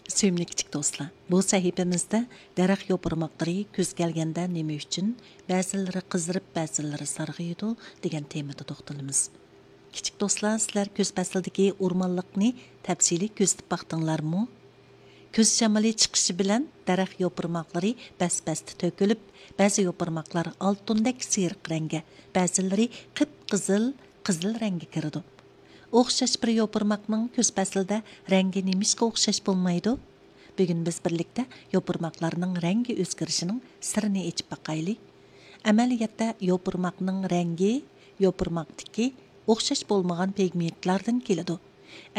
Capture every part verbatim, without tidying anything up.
سۆيۈملۈك كىچىك دوستلار، بۇ سەھىپىمىزدە دەرەخ يوپۇرماقلىرى كۈز كەلگەندە نېمە ئۈچۈن بەزىلىرى قىزىرىپ، بەزىلىرى سارغىيىدۇ دېگەن تېمىدا توختىلىمىز. كىچىك دوستلار، سىلەر كۈز پەسلىدىكى ئورمانلىقنى تەپسىلىي كۆزىتىپ باقتىڭلارمۇ؟ كۈز شامىلى چىقىشى بىلەن دەرەخ يوپۇرماقلىرى بەس-بەستە تۆكۈلۈپ، بەزى يوپۇرماقلار ئالتۇندەك سېرىق رەڭگە، بەزىلىرى قىپقىزىل، قىزىل رەڭگە كىرىدۇ. ئوخشاش بىر يوپۇرماقنىڭ كۈز پەسلىدە رەڭگى نېمىشقا ئوخشاش بولمايدۇ؟ بۈگۈن بىز بىرلىكتە يوپۇرماقلارنىڭ رەڭگى ئۆزگىرىشىنىڭ سىرىنى ئېچىپ باقايلى. ئەمەلىيەتتە يوپۇرماقنىڭ رەڭگى يوپۇرماقتىكى ئوخشاش بولمىغان پىگمېنتلاردىن كېلىدۇ.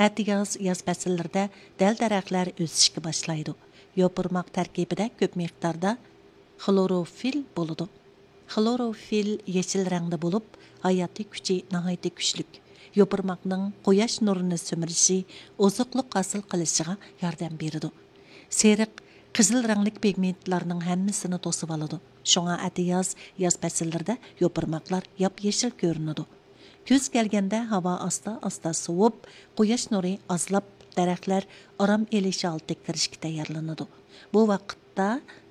ئەتىياز، ياز پەسىللىرىدە دەل-دەرەخلەر ئۆسۈشكە باشلايدۇ. يوپۇرماق تەركىبىدە كۆپ مىقداردا خلوروفىل بولىدۇ. خلوروفىل يېشىل رەڭدە بولۇپ، ھاياتىي كۈچى ناھايىتى كۈچلۈك. يوپۇرماقنىڭ قۇياش نۇرىنى سۈمۈرۈشى، ئوزۇقلۇق ھاسىل قىلىشىغا ياردەم بېرىدۇ. سېرىق، قىزىل رەڭلىك پىگمېنتلارنىڭ ھەممىسىنى توسۇۋالىدۇ. شۇڭا ئەتىياز، ياز پەسىللىرىدە يوپۇرماقلار ياپيېشىل كۆرۈنىدۇ. كۈز كەلگەندە ھاۋا ئاستا-ئاستا سوۋۇپ، قۇياش نۇرى ئازلاپ، دەرەخلەر ئارام ئېلىش ھالىتىگە كىرىشكە تەييارلىنىدۇ. بۇ ۋاقىتتا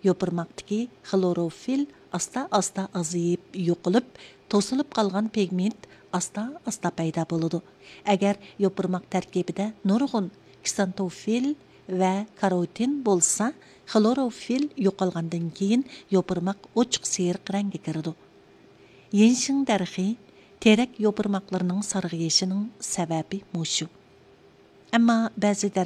يوپۇرماقتىكى خلوروفىل ئاستا-ئاستا ئازىيىپ يوقىلىپ، توسۇلۇپ قالغان پىگمېنت ئاستا-ئاستا پەيدا بولىدۇ. ئەگەر يوپۇرماق تەركىبىدە نۇرغۇن كسانتوفىل ۋە كاروتىن بولسا، خلوروفىل يوقالغاندىن كېيىن يوپۇرماق ئوچۇق سېرىق رەڭگە كىرىدۇ. يىنشىڭ دەرىخى، تېرەك يوپۇرماقلىرىنىڭ سارغىيىشىنىڭ سەۋەبى مۇشۇ. ئەمما بەزى